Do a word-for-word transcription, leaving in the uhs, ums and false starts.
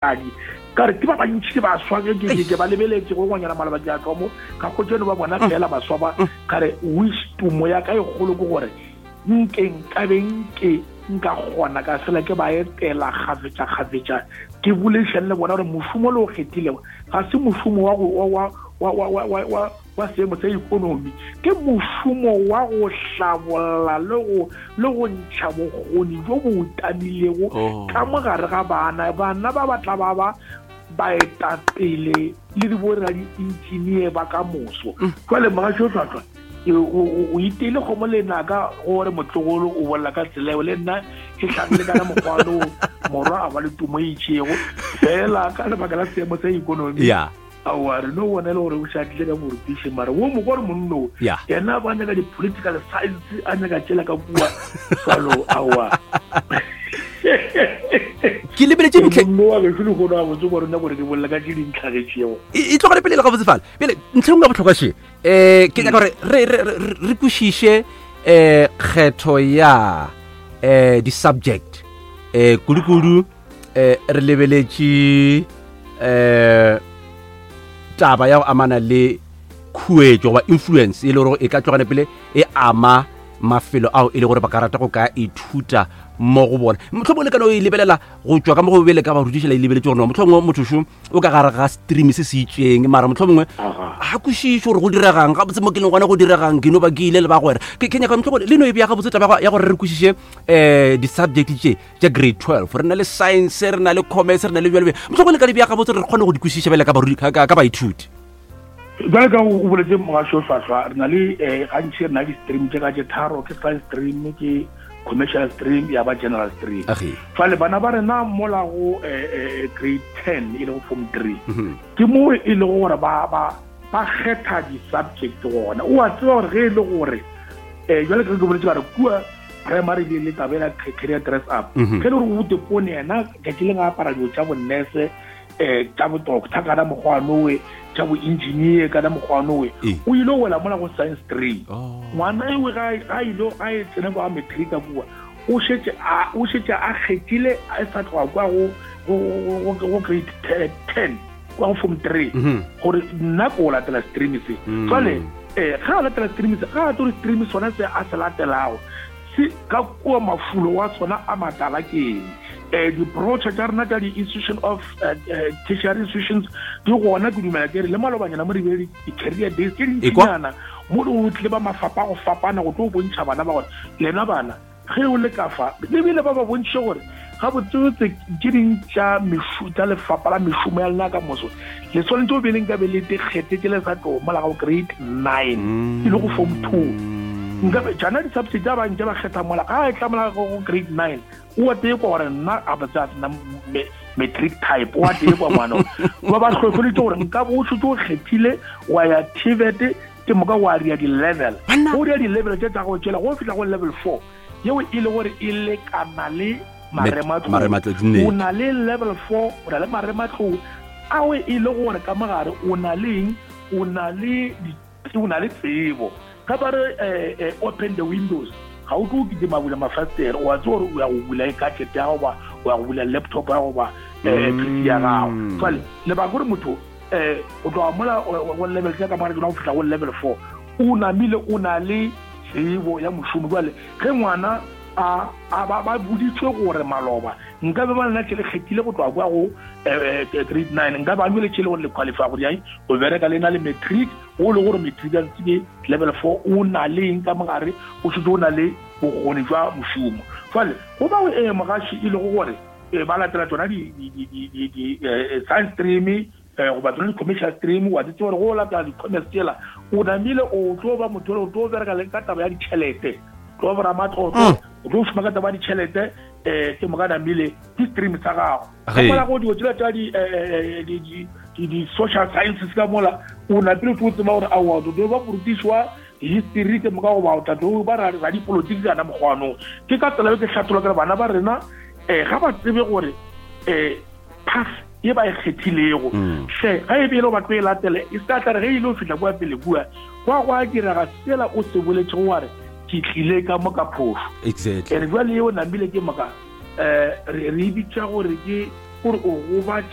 Adi ka re ke ba bantši ke baswa ke ke ke ba lebeletše go ngwanyana maloba ke a tloga mo ka kgotšeno ba bona fela baswa ba ka re wish tumo ya ka e kgolo ke gore nke nkabe nke nka kgona ka fela ke ba etela kgafetša kgafetša ke boledišane le bona gore mošomo le o kgethilego ga se mošomo wa go wa wa wa wa wa wa wa seemo sa ikonomi, ke mošomo wa go hlabolla le go le go ntšha bokgoni bjo bo utamilego oh. ka mo gare ga bana. Bana ba ba tla ba ba baetapele le diboradiintšinie ba ka moso. Mm. Jwale mogašo tlhwatlhwa o iteile kgomo lenaka gore motlogolo o bolela ka tsela eo le nna ke hlagile ka mokgwa lo morwa a ba le tumo e itšego fela ka lebaka la seemo sa ikonomi. Yeah. Aowa, re no bona e le gore o šadile ka borutiši, mara wo mokwa gore monno Yeah. yena ba nyaka di-political science, a nyaka tšela ka kua jalo. Aowa, ke lebeletše ntlhe monno wa gešo lehono a botse gore nna gore ke bolela ka tše di ntlhagetšego. E e tlogele pele le gabotse fale pele ntlha engwe ya bohlokwa še um ke nyaka gore re re- re re kwešiše um kgetho ya um di-subject um kudu-kudu um re lebeletše um taba ya go amana le khuetšo goba influence e le gore e ka tlogane pele e ama mafelo ao e le gore ba ka rata go ka ithuta mo go bona. Mohlomongwe le ka no e lebelela go tšwa ka mo go bele ka barutiši la e lebeletse gore no mohlomongwe motho šo o ka gare ga stream se se itseng, mara mohlomongwe ga kwešiše gore go diregang gabotse mo ke leng gona, go diregang ke no ba ke ile le bagwera. Ke ke nyaka mohlomongwe le no e bea gabotse taba ya gore re kwešiše um di-subject tše tša grade twelve. Re na le science, re na le commerce, re na le bjalo bjalo. Mohlomongwe le ka di bea gabotse re kgone go di kwešiša bjale ka barudi- ka- ka ka baithuti. Jale ka o boletse mogašo hlwahlwa, re na le um gantši re na le di-stream tše ka tše tharo, ke science stream, ke commercial stream, ya ba general stream. Age. Fale bana ba rena mola go eh, eh, grade ten e lego form three, Mhm. ke mo e lego gore ba ba ba kgetha di-subject gona. O a tseba gore ge e le gore um jale ke ke boletse ka re kua primary le le taba ela career dress up, Mhm. ge e le gore o bote pone yena tšatši le ga apara dilo tša bonnese, um tša bo-doctor kana mokgwanowe, tša bo-engineer kana mokgwanowe, Ee. o ile go wela mola go science stream. Oh. Ngwana ewe ga ga ile ga e tsena kwa matric kua, o šetše a o šetše a kgethile a sa tloga kwa go go go go grade ten kwa go form three Mhm. gore nna ko latela stream se. Mm. Jwale eh ga a latela stream se, ga a tlo stream sona se a se latelago se ka kua mafulo wa sona a matala ke eng, eh di-brochure tša rena tša di-institution of eh, eh, tertiary institutions di gona. Ke dumela ke re le malobanyana mo re bile di-career days tše Ekwa. dintšinyana mo le tlile ba mafapa a go fapana go tlo bontšha bana ba gore lena bana ge o le ka fa lebile ba ba bontšhe gore gabotsebotse tše ding tša mešo tša lefapha la mešomo ya lena ka moso le tshwanetse o be le nka be le tekgethe tše le sa tlo mola go grade nine e le go form two. Nka be tšana di-subject tša bantše ba kgetha mola ga e tla mola go go grade nine, o a tee kwa gore nna a botse a sena me- matric type, o a tee kwa ngwana ba ba hlohloleditse gore nka bo o šetse o kgethile wa ya T V E T, ke moka wa ria di-level. Banna. O ria di-level tše tsa go tšela go fihla go level four yeo e le gore e lekana le marematlou. Marematlou, di nnete. O na le level four, o na le marematlou ao e le gore ka mogare o na le eng, o na le di- o na le tsebo ga ba re eh, eh, open the windows, ga o tlo kitima bula mafastere, o a tseba gore o ya go bula gadget ya gago ba o ya go bula laptop ya gago ba eh, P C ya gago. Mm. Jwale lebaka gore motho um o tloga mola o- go level tse ka mogare tsona go fihla go level four, o namile o na le tsebo ya mošomo. Jwale ge ngwana a a ba ba boditswe gore maloba nka be ba lena tše le kgethile go tloga kwa go eh, eh, grade nine, nka ba le tše le gore le qualify gore yang go bereka le na le matric, o le gore matric a ke level four, o na le eng ka mogare, o šetse o na le bokgoni jwa mošomo. Jwale go bao eh mogaši e lego gore eh, ba latela tsona di di di di di di eh, science stream eh goba tsona di-commercial stream, wa di tseba gore go latela di-commerce tsela o namile o tlo ba motho o tlo bereka le ka taba ya ditšhelete, tlo ba ramatlotlo, o tlo šoma ka taba ya ditšhelete, um ke moka namile ke stream sa gago. Ka Ge. mola go dilo tsela tša di eh, eh, di- di- di- di-social sciences ka mola o napile o tlo tseba gore aowa o tlo ba morutiši wa history, ke moka goba o tla tlo ba ra- radipolotiki kana mokgwanong. Ke ka tsela eo ke hlathola kere bana ba rena um ga ba tsebe gore um path ye ba e kgethilego Mm. hle ga e be e le go ba tlo e latele e se ka tla re ge e ile go fihla kua pele kua kwa go a direga sela o se boletšego wa re ke tlile ka mo ka phošo. Exactly. And jwale eo namile ke moka um re re e bitša gore ke Kore o gobatša